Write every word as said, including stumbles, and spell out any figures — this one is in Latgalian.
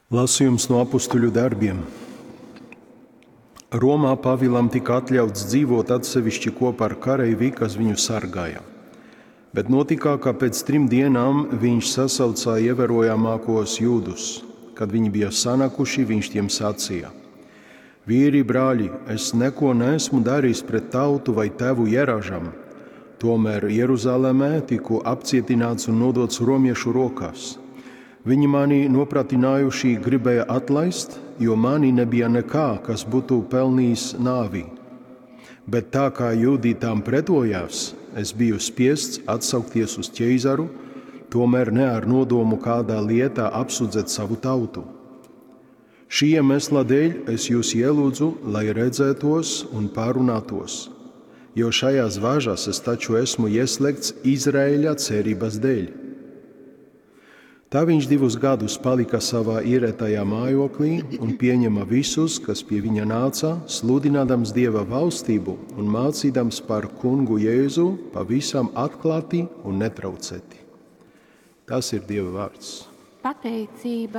Lasījums no apustuļu darbiem. Romā Pāvilam tika atļauts dzīvot atsevišķi kopā ar kareivi, kas viņu sargāja. Bet notika, ka pēc trim dienām viņš sasaucā ievērojamākos jūdus. Kad viņi bija sanākuši, viņš tiem sacīja: Vīri, brāļi, es neko neesmu darījis pret tautu vai tēvu ieražam. Tomēr Jeruzalemē tiku apcietināts un nodots romiešu rokās. Viņi mani nopratinājuši gribēja atlaist, jo manī nebija nekā, kas būtu pelnījis nāvi. Bet tā kā jūdi tam pretojās, es biju spiests atsaukties uz ķeizaru, tomēr ne ar nodomu kādā lietā apsūdzēt savu tautu. Šī iemesla dēļ es jūs ielūdzu, lai redzētos un pārunātos, jo šajās važās es taču esmu ieslēgts Izraēļa cerības dēļ. Tā viņš divus gadus palika savā ierētajā mājoklī un pieņema visus, kas pie viņa nāca, sludinādams Dieva valstību un mācīdams par kungu Jēzu pavisam atklāti un netraucēti. Tas ir Dieva vārds. Pateicība